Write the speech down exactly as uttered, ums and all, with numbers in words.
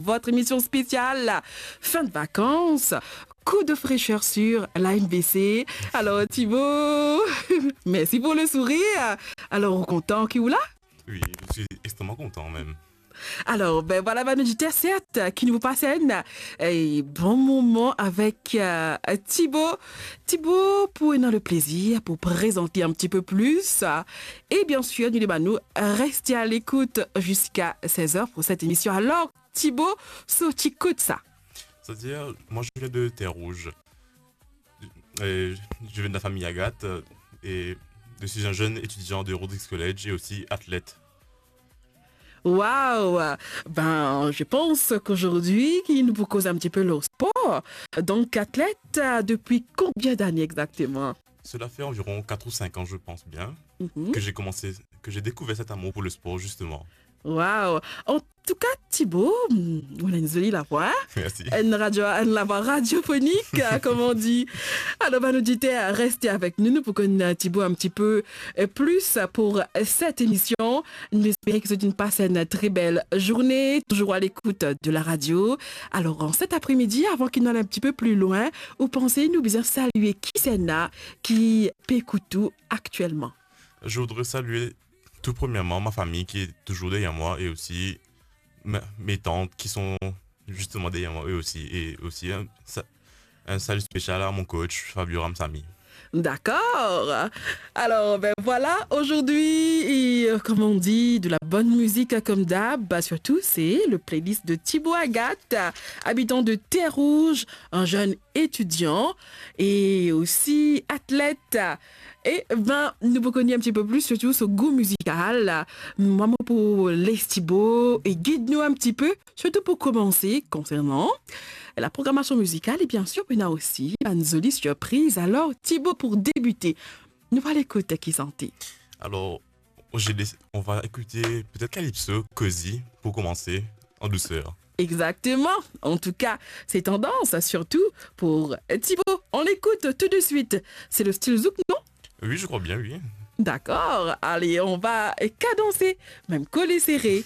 votre émission spéciale fin de vacances. Coup de fraîcheur sur la M B C. Alors, Thibaut, merci pour le sourire. Alors, ou kontan ki ou la? Oui, je suis extrêmement content même. Alors, ben voilà, bann oditer, sert, ki nou pas enn, eh, bon moman avek, eh, Thibaut. Thibaut, pou ena le plezir pou prezante un petit peu plus. Et bien sûr, nou demann ou, reste à l'écoute jusqu'à seize heures pour cette émission. Alors, Thibaut, sorti kot sa? C'est-à-dire, moi je viens de Terre-Rouge. Et je viens de la famille Agathe, euh, et je suis un jeune étudiant de Rodrigues College et aussi athlète. Wow! Ben, je pense qu'aujourd'hui, ki nou pou koz un petit peu le sport. Donc, athlète, euh, depuis combien d'années exactement? Cela fait environ quatre ou cinq ans, je pense bien, Mhm. que j'ai commencé, que j'ai découvert cet amour pour le sport, justement. Wow! En tout cas, Thibaut, mm, ou ena enn zoli lavwa, hein? Merci. Enn radio, enn lavwa radiofonik, euh, comme on dit. Alors, ben, oditer, reste avec nous. Nou pou konn Thibaut un petit peu, euh, plus pour cette émission. Nou espere ki zot inn pas enn très belle journée, toujours à l'écoute de la radio. Alors, en cet après-midi, avant ki nou al un petit peu plus loin, ou panse nou bizin salue kisannla ki pe ekout ou actuellement? Je voudrais saluer tout premièrement ma famille qui est toujours derrière moi et aussi ma- mes tantes qui sont justement derrière moi eux aussi. Et aussi un, sa- un salut spécial à mon coach Fabio Ramsamy. D'accord. Alors, ben voilà, aujourd'hui, euh, comme on dit, de la bonne musique comme d'hab. Bah, surtout, c'est le playlist de Thibaut Agathe, habitant de Terre-Rouge, un jeune étudiant et aussi athlète. Et ben, nou pou konn un petit peu plus, surtout so gou mizikal. Mwa, mo pou les Thibaut e gid nou un petit peu, surtout pour commencer, concernant la programmation musicale et bien sûr, on a aussi une jolie surprise. Alors, Thibaut, pour débuter, nou va al ekout ki sante? Alors, j'ai laissé- on va écouter peut-être Calypso, Cozy, pour commencer en douceur. Exactement. En tout cas, c'est tendance, surtout pour Thibaut. On écoute tout de suite. C'est le style zouk, non? Oui, je crois bien, oui. D'accord. Allez, on va cadencer, même coller serré.